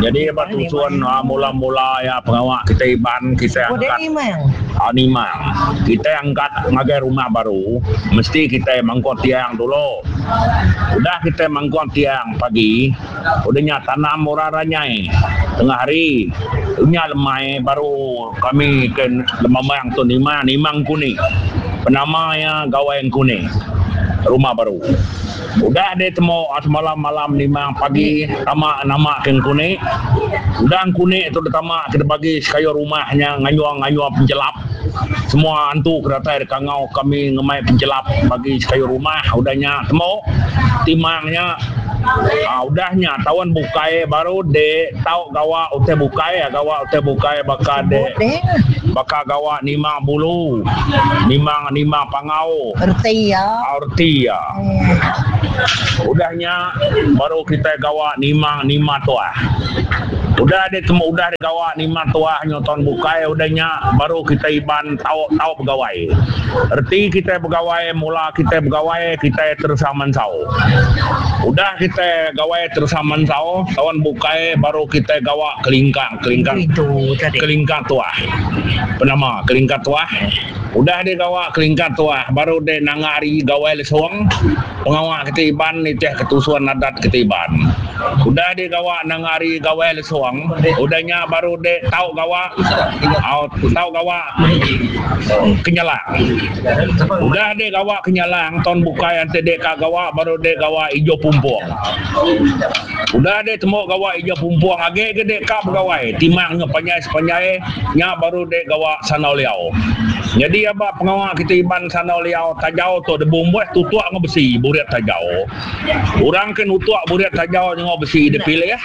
Nyadi ba tusun mula-mula iya pengawa kitai Iban kitai angkat nimang. Kitai angkat ngagai rumah baru mesti kitai mangkung tiang dulu. Udah kitai mangkung tiang pagi udah nya tanam orang ranyai tengah hari nya lemai baru kami ke lemambang tu nimang nimang engkuni. Penama iya gawai engkuni rumah baru. Udah deh temu semalam malam nimang pagi tama nama ke engkuni. Udah engkuni tu ditama ke dibagi sekayu rumah nya ngayung ngayung penjelap. Semua antu ke datai deka ngau kami ngemai penjelap bagi sekayu rumah udah nya temu timang nya aaa udah nya taun bukai baru deh tau gawa utai bukai gawa utai bukai baka deh baka gawa nimang bulu nimang nimang pangau. Reti iya. Reti iya. Udah nya baru kitai gawa nima nima tuah. Udah deh temu udah deh gawa nima tuah nyu taun bukai udah nya baru kitai Iban tau tau begawai. Reti kitai begawai mula kitai begawai kitai teresang mansau. Udah kitai gawai teresang mansau taun bukai baru kitai gawa kelingkang kelingkang kelingkang tuah. Penama kelingkang tuah. Udah deh gawa kelingkang tuah baru deh nanga hari gawai lesung pengawa kitai Iban nitih ke tusun adat kitai Iban. Udah deh gawa nanga hari gawai lesung udah nya baru deh tau gawa au tau gawa kenyalang. Udah deh gawa kenyalang taun bukai enti deh ka gawa baru deh gawa ijo pumpung. Udah deh temu gawa ijo pumpung agi ke deh ka begawai timang nyu panjai sepanjai nya baru deh gawa Sandau Liau. Nyadi aba pengawa kitai Iban Sandau Liau tajau tu dibumbuh tutuk enggau besi burit tajau. Orang ke nutuk burit tajau nya enggau besi dipilih.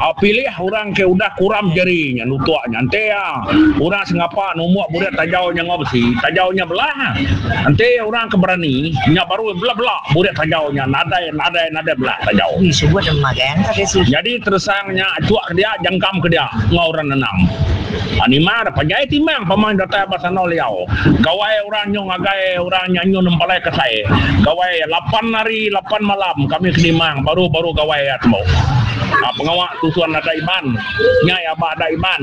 Au pilih orang ke udah kuram jari nya nutuk nya. Enti iya orang sengapa numbuk burit tajau nya enggau besi, tajau nya belah. Enti orang ke berani nya baru bela-bela burit tajau nya nadai nadai nadai belah tajau. Nyadi teresang nya achuk ke dia jangkam ke dia enggau orang nenam. Anima da panjai timang pamang datai ba Sandau Liau. Gawai orang nyu ngagai orang nya nyu nempalai kasai. Gawai lapan hari lapan malam kami ke nimang baru baru gawai iya tembu. Pengawa tusun adat Iban nya iya ba adat Iban.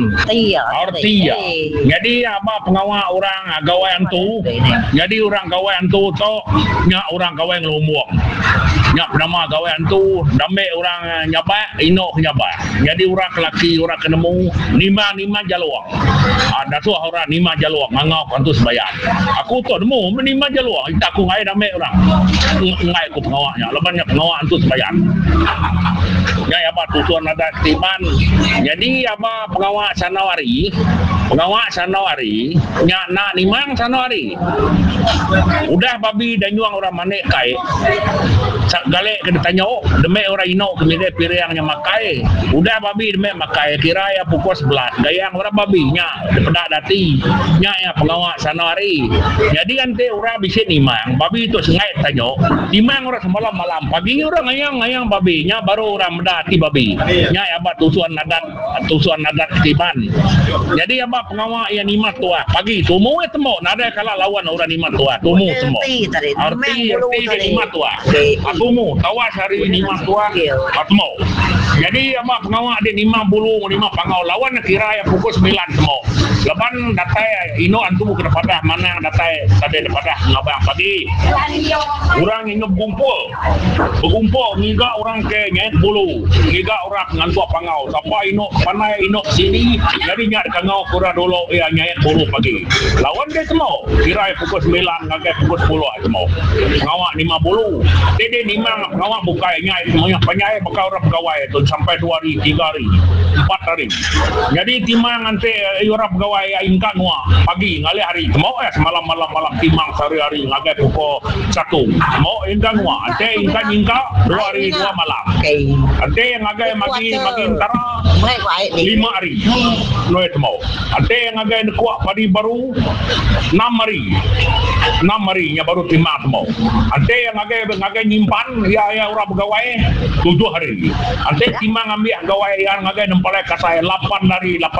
Reti iya. Nyadi iya ba pengawa orang gawai antu. Nyadi orang gawai antu tu nya orang gawai ngelumbung. Nya penama gawai antu dambe orang nyabak inu ke nyabak. Nyadi orang ke laki orang ke nemu nimang nimang jalung. Dasuh orang nimang jalung ngangau ke antu sebayan. Aku tu nemu meh nimang jalung ita aku enggai enda ambi orang. Enggai ku pengawa nya laban nya pengawa antu sebayan. Nya aba tusun adat ti Iban. Nyadi aba pengawa sandau hari, pengawa sandau hari nya enda nimang sandau hari. Udah babi danyung orang manik kai gali ke ditanyu demi orang inu ke milih piring nya makai. Udah babi demi makai kira iya pukul sebelas gayang orang babi nya dipeda dati. Nya iya pengawa sano hari. Nyadi enti orang bisi nimang babi tu sengai ditanyu timang orang semalam malam pagi orang ngayang ngayang babi nya baru orang meda ati babi. Nya iya ba tusun adat. Tusun adat ti Iban. Nyadi aba pengawa iya nimat tuah pagi tumu iya tembu nadai kala lawan orang nimat tuah tumu tembu. Reti reti dia nimat tuah tumu tawas hari nimat tuah tembu. Nyadi aba pengawa dia nimang bulu enggau nimang pangau lawan ne kira iya pukul semilan tembu. Laban datai indu antu ke dipadah manang datai tadi dipadah ngabang pagi. Orang ngingu begumpul. Begumpul ngiga orang ke nyait bulu, ngiga orang ke ngantuk pangau. Sapa inu ke pandai inu ke sini, nyadi nya dikangau ke orang dulu iya nyait bulu pagi. Laun deh temu, kira iya pukul semilan ngagai pukul sepuluh ai temu. Pengawa nimang bulu. Ti deh nimang pengawa bukai nya ai mayuh panjai baka orang pegawai tu sampai dua hari, tiga hari, empat hari. Nyadi timang enti orang pegawai iya ingka ngua pagi ngalih hari temu iya semalam malam malam timang sehari hari ngagai pukul satu temu ingka ngua enti ingka nyingka dua hari dua malam enti ngagai magi magi entara lima hari noi temu enti ngagai nekuk padi baru enam hari enam hari nya baru timang temu enti ngagai ngagai nyimpan iya iya orang pegawai tujuh hari. Enti timang ambih gawai iya ngagai nempalai kasai lapan hari lapan.